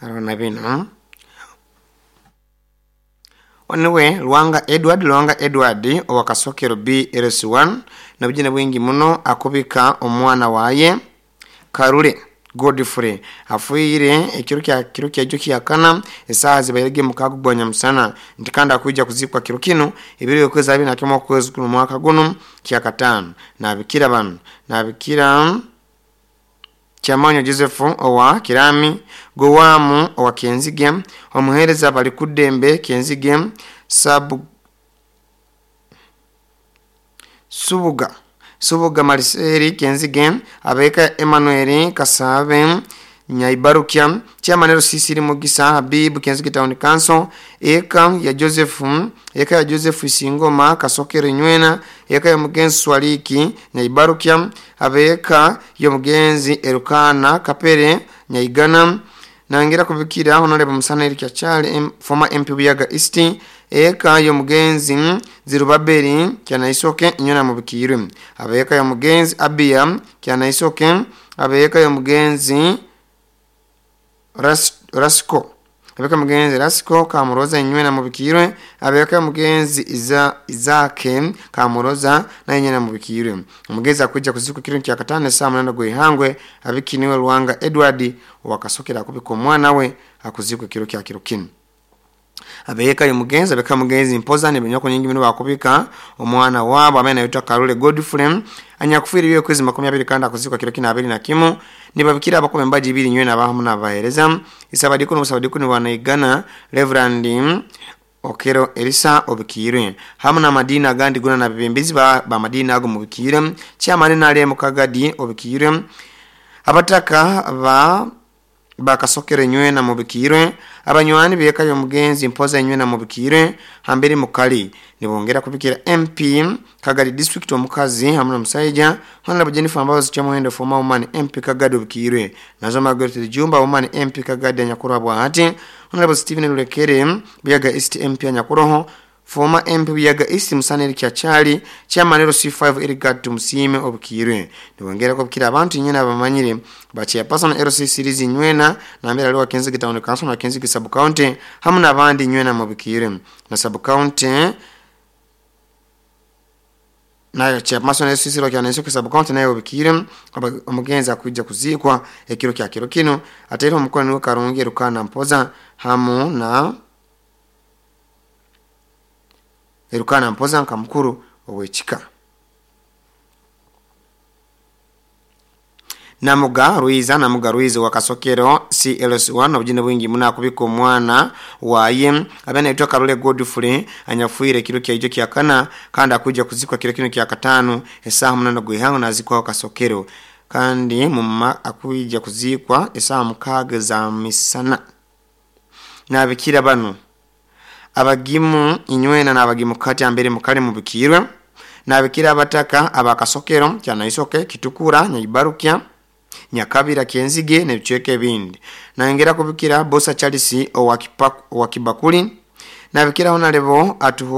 Arona bino oniwe Lwanga Edward, Lwanga Edward owa Kasokero BLC1 nabujine bwingi muno akubika omwana waye Karule Godfrey afuire ekiro kya kiro kyaijo kyakana esaha zibairege mukago gwa nyamusana nti kandi akuija kuzikwa kiro kino ebiro okwezi 21 okwezi kuno mwaka guno kyakatano. Nabikira bano, nabikira Kyamanyo Joseph owa Kirami, Gowamu owa Kenzige, omuhereza bali kudembe Kenzige, Sabu Subuga Subuga Mariseri Kenzige, abeka Emmanuel Kasabe Nyaibarukya, Chairman Sisiri Mugisa Habib Kenzige Town Council, eka ya Joseph, eka ya Joseph Isingoma Kasokero Nywena, eka ya Mugenzi Swaliki Nyaibarukya, abeka ya Mugenzi Erukana Kapere Nyaigana, nangira kubikira Honorable Musana Eric Kyachali former MP Buyaga East, eka ya Mugenzi Zirubabeli Kyanaisoke Nywena mubikirwe, abeka ya Mugenzi Abia Kyanaisoke, abeka ya Mugenzi Rasiko, abeka Mugenzi Rasiko Kamuroza Nywena mubikirwe, abeka Mugenzi Izake Kamuroza na Nywena mubikirwe. Omugenzi akuja kuzikwa kiro kya katano saa 8 gwihangwe abikiniwe Lwanga Edward wakasokera kubika omwana we akuzikwa kiro kya kiro kino. Abeka ya Mugenzi, abeka Mugenzi Mpoza ni binyoko nyingi mino bakubika omwana wabo amene anaitwa Karule Godfrey anyakufuira byo kwezi 20 kandi akuzikwa kiro kina 21. Nibabikira abakombe mbaji ibiri nywena abahamu n'abahereza isabadiko n'obusabadiko ni banaigana Reverend Okero Elisa obikirwe hamwe na madini agandi guna na bibembizi ba madini ago mubikirwe, chairman nale mukagadi obikirwe, abataka ba bakasokere nywena mubikirwe, abanywani beka yo Mugenzi Mpoza nywena mubikirwe hambere mukali. Nibongera kubikira MP Kagadi district omukazi hamwe na musaija Honorable Jennifer Mbabazi Kyamuhendo former woman MP Kagadi obikirwe, nazo Margaret Jumba woman MP Kagadi nyakurwa bwahati, Honorable Stephen Lulekere Buyaga East MP nyakuroho former MP Buyaga East Musana Eric Kyachali, chairman LC5 Eric Musime obikirwe. Nibongera kubikira abantu nyina abamanyire ba chairperson LC series nywena na mbere aliwa Kenzige Town Council na Kenzige Sub County hamwe n'abandi nywena mubikirwe na Sub County nayo chairperson LC series kyanenso Sub County nayo obikirwe. Omugenzi akuja kuzikwa ekiro kya kiro kino atera omukono niwe Karungi Rukana Mpoza hamu na Erukana Mpoza nka mukuru owekika. Namuga Ruiza, Namuga Ruiza wa Kasokero CLS1 obujine bwingi muna kubika omwana waye abana aitwa Karule Godfrey anyafuire kiro kya ijo kya kana kandi akuja kuzikwa kiro kino kya katano esaha 8 gwihango nazikwa Kasokero kandi muma akuja kuzikwa esaha 6 za misana. Nabikira bano abagimu inywena n'abagimu kati ambere mukale mubikirwe, nabikira abataka abakasokero Kyanaisoke Kitukura Nyaibarukya Nyakabira Kenzige n'ebicweka ebindi. Nangera kubikira Bosa Charles owa Kibakuli, nabikira Honorable atuho.